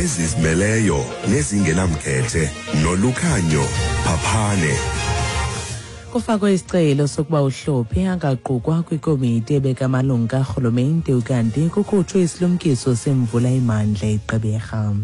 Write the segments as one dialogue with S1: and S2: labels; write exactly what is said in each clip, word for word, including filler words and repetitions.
S1: Ezizimeleyo nezingenamkhethe noLukhanyo Phaphane.
S2: Kufakwe isicelo sokuba uHlophe angaqukwa kwikomiti ebeka amalungu karhulumente, ukanti kukhutshwe isilumkiso semvula emandla eGqeberha.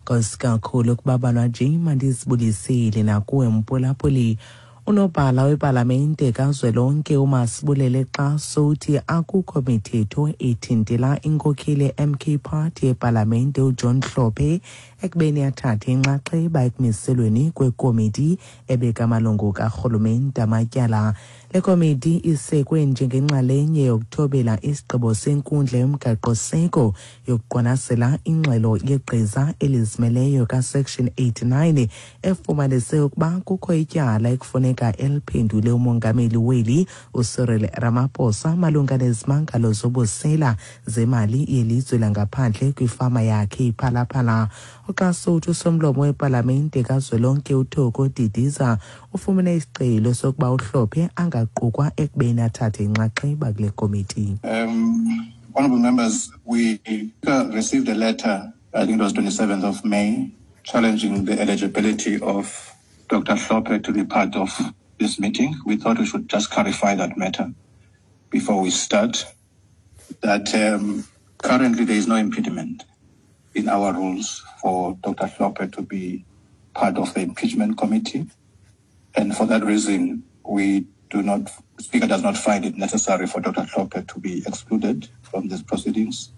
S2: Nkosi kakhulu kubabalwa nje, mandizibulisile nakuwe mphulaphuli. Unobhala wepalamente kazwelonke uMasibulele Xaso uthi akukho mithetho ethintela inkokheli ye-M K Party epalamente uJohn Hlophe ekubeni athathe inxaxheba ekumiselweni kwekomiti ebeka amalungu karhulumente amatyala. Le komiti isekwe njengenxalenye yokuthobela isigqibo senkundla yomgaqo-seko yokuqwalasela ingxelo yegqiza elizimeleyo kaSection eighty-nine efumanise ukuba kukho ityala ekufuneka eliphendule umongameli weli uCyril Ramaphosa malunga nezimangalo zobusela zemali yelizwe langaphandle kwifama yakhe iPhala Phala. UXaso uthi usomlomo wepalamente kazwelonke uThoko Didiza ufumene isicelo sokuba uHlophe angaqukwa ekubeni athathe inxaxheba kule komiti.
S3: Um, honorable members, we received a letter, I think it was twenty-seventh of May, challenging the eligibility of Doctor Hlophe to be part of this meeting. We thought we should just clarify that matter before we start, that um, currently there is no impediment in our rules for Doctor Hlophe to be part of the impeachment committee. And for that reason, we do not, Speaker does not find it necessary for Doctor Hlophe to be excluded from these proceedings,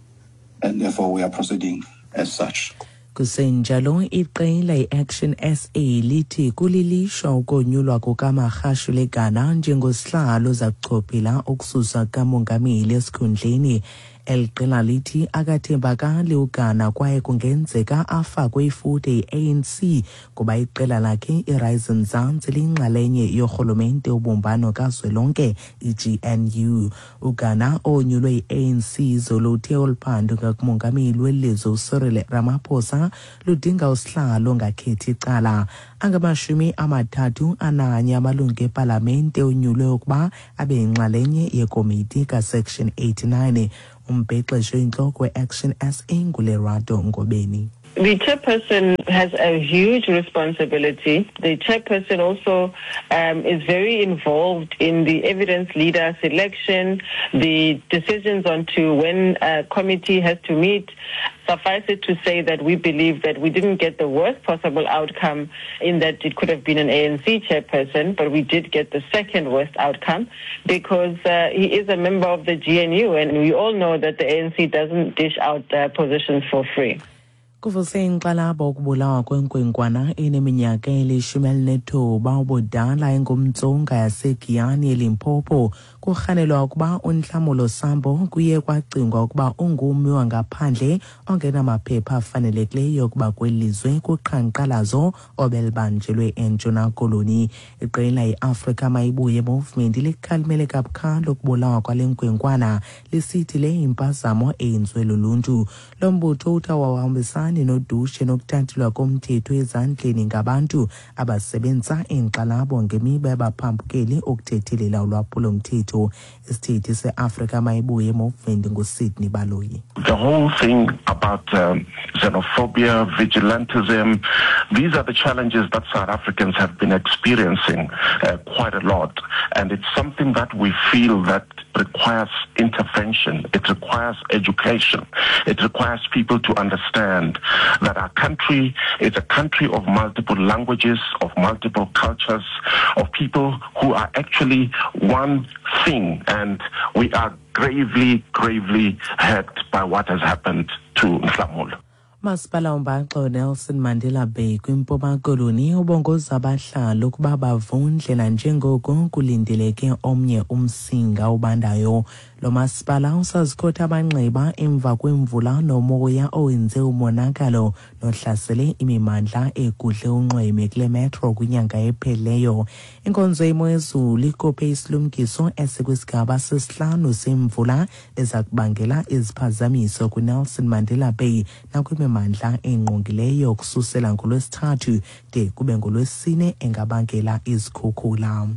S3: and therefore we are proceeding as such.
S2: Kusenjalo, iqela i-Action S A lithi kulilishwa ukonyulwa kukaMagashule Gana njengosihlalo oza kuchophela ukususwa kamongameli esikhundleni. Eli qela lithi akathembakali uGana kwaye kungenzeka afakwe ifuthe yi-A N C kuba iqela lakhe iRise Mzansi liyinxalenye yorhulumente wobumbano kazwelonke i-G N U. UGana onyulwe yi-A N C izolo uthe olu phando ngakumongameli welizwe uCyril Ramaphosa ludinga usihlalo ongakhethi icala. Angamashumi amathathu ananye amalungu epalamente onyulwe ukuba abe yinxalenye yekomiti kaSection eighty-nine. Umbhexeshi oyintloko we-Action S A nguLerato Ngobeni.
S4: The chairperson has a huge responsibility. The chairperson also um, is very involved in the evidence leader selection, the decisions on to when a committee has to meet. Suffice it to say that we believe that we didn't get the worst possible outcome in that it could have been an A N C chairperson, but we did get the second worst outcome because uh, he is a member of the G N U, and we all know that the A N C doesn't dish out uh, positions for free.
S2: Kuvuse inkxalabo ukubulawa kwenkwenkwana eneminyaka elishumi elinethoba ubudala engumTsonga yaseGiyani eLimpopo. Kurhanelwa ukuba uNhlamulo Sambo kuye kwacingwa ukuba ungummi wangaphandle ongenamaphepha afanelekileyo ukuba kweli lizwe kuqhankqalazo obelibanjelwe eNtshona Koloni. Iqela iAfrika Mayibuye Movement likhalimele kabukhali ukubulawa kwale nkwenkwana, lisithi le yimpazamo eyenziwe luluntu. Lo mbutho uthi awuhambisani nodushe nokuthathelwa komthetho ezandleni ngabantu abasebenzisa inkxalabo ngemiba yabaphambukeli ukuthethelela ulwaphulomthetho. Isithethi seAfrika Mayibuye Movement nguSydney Baloyi.
S5: The whole thing about um, xenophobia, vigilantism, these are the challenges that South Africans have been experiencing uh, quite a lot. And it's something that we feel that requires intervention. It requires education. It requires people to understand that our country is a country of multiple languages, of multiple cultures, of people who are actually one thing. And we are gravely, gravely hurt by what has happened to Nhlamulo.
S2: Umasipala uMbaxo Nelson Mandela Bay kwiMpuma Koloni ubongoza abahlali ukuba bavundle nanjengoko kulindeleke omnye umsinga obandayo. Lo masipala usazikhotha amanxeba emva kwemvula nomoya owenze umonakalo nohlasele imimandla egudle unxweme kule metro kwinyanga ephelileyo. Inkonzo yemo yezulu ikhuphe isilumkiso esikwisigaba sesihlanu semvula eza kubangela iziphazamiso kwiNelson Mandela Bay nakwimimandla engqongileyo kususela ngoLwesithathu de kube ngoLwesine, engabangela izikhukhula.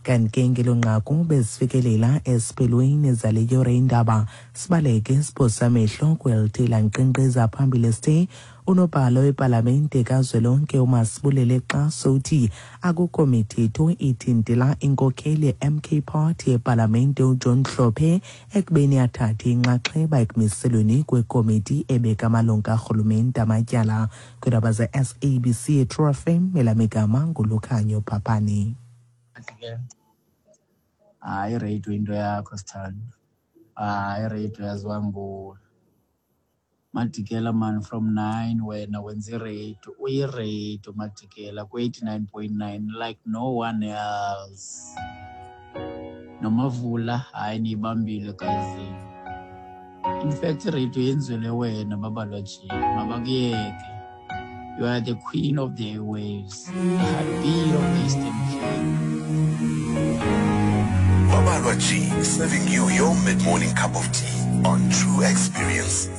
S2: Kanti ke ngelo nqaku bezifikelela esiphelweni zale yure indaba. Sibaleke siphosa amehlo kwelithi lankqenkqeza phambili sithe unobhala wepalamente kazwelonke uMasibulele Xaso uthi akukho mithetho ithintela inkokheli ye-M K Party epalamente uJohn Hlophe ekubeni athathe inxaxheba ekumiselweni kwekomiti ebeka amalungu karhulumente amatyala. Kwiindaba ze-S A B C True F M, elamigama nguLukhanyo Phaphani.
S6: Hayi, ireyido into yakho sithando. Hayi, ireyido yaziwa nguwe. Madikela man from nine wena wenza ireyido, uyireyido Madikela ku-eighty-nine point nine like no one else. Nomavula, hayi niyibambile gayizini. In fact, ireyido yenzelwe wena babalwa nje, mabakuyeke. You are the queen of the airwaves, the heartbeat of the Eastern Cape.
S1: Babalwa G, serving you your mid-morning cup of tea on True Experience.